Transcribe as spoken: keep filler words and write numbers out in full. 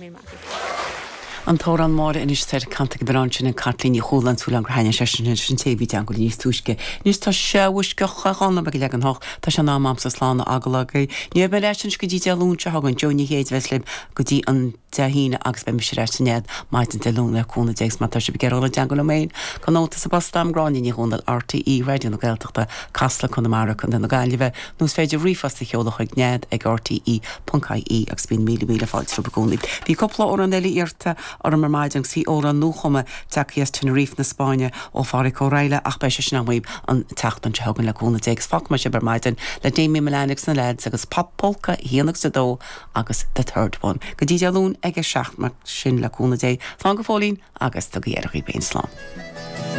féin Matthew. An t-amhrán Máire anois tar canta go sin an Caitlín Ní Chualann súil gur thaithin sé sin sin TV teanga níos túisce. Níos tá sehuisce chuánna be le an hocht tá sé ná amsa slána agalagai. Ní me leis an go dtí Dé Luain seo chugainn Joe Ní Chéid libh go dtí an Dé hAoine agus beidh mise ar ais san maidin Dé Luain le cúnamh Dé má tá sibh ag iarraidh teagmháil liom féin Cuir nóta sa bpost agam Gráinne Ní Dhomhnaill RTÉ Raidió na Gaeltachta Casla Conamara Contae na Gaillimhe nó is féidir ríomhphost a sheoladh chuig nead ag RTE ponc IE agus bíonn míle míle fáilte romhaibh i gcónaí. Bhí cúpla amhrán eile iarrta orm ar maidin agus bhí amhrán nuachumtha tagtha as Tenerife na Spáinne ó Phádraig Ó Raghallaigh ach beidh sé sin agaibh an tseachtain seo chugainn le cúnamh Dé agus fágfaidh sibh ar maidin le Damien Milan agus na lads agus Pop Polka haon agus a dó agus the third one. Go dtí Dé Luain ag a seacht mar sin le cúnamh Dé Slán go fóillín agus tugaigí aire daoibh féin slán.